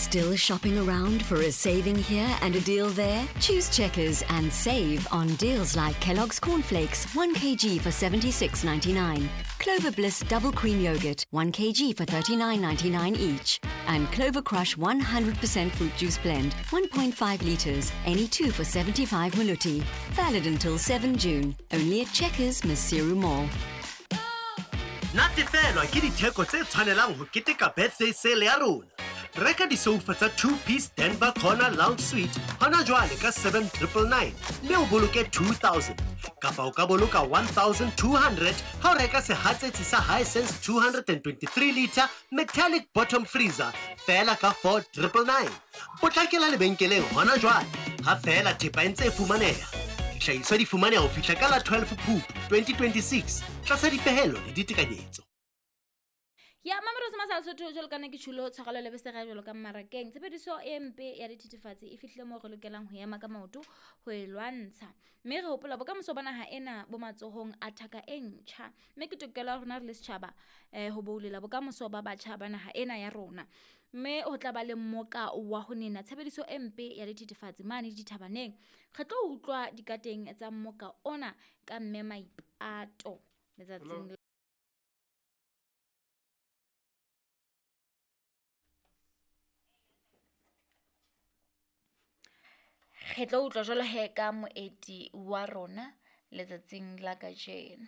Still shopping around for a saving here and a deal there? Choose Checkers and save on deals like Kellogg's Cornflakes, 1 kg for 76.99, Clover Bliss Double Cream Yogurt, 1 kg for 39.99 each, and Clover Crush 100% Fruit Juice Blend, 1.5 litres, any two for 75 maluti. Valid until 7 June, only at Checkers, Maseru Mall. Natefelwa ke ditheko tse tshwanelang ho keteka birthday sale ya rona. Reka disoufa tsa 2-piece Denver Corner Lounge Suite hona jwale ka 7999 mme o boloke 2000, kapa o ka boloka 1200 ha o reka sehatsetsi sa Hisense 223 litre metallic bottom freezer feela ka 4999. Potlakela lebenkeleng hona jwale ha feela thepa e ntse e fumaneha. Dihlahiswa di fumaneha ho fihla ka la 12 Phupu 2026 tlasa dipehelo le ditekanyetso. Ya Mamelodi Masala Sotho, jwalo ka nna ke tjhulo tshwarelo le besega jwalo ka mmarakeng. Tshebediso e mpe ya dithethefatsi e fihlile moo re lokelang ho ema ka maoto ho e lwantsha, mme re hopola bokamoso ba naha ena bo matsohong a thaka e ntjha, mme ke tokelo ya rona re le setjhaba ho boulela bokamoso ba batjha ba naha ena ya rona. Mme ho tla ba le mmoka wa ho nena tshebediso e mpe ya dithethefatsi mane dithabaneng. Re tlo utlwa dikateng tsa mmoka ona ka mme Maipato letsatsing. Re tlo utlwa jwalo he ka moeti wa rona letsatsing la kajeno.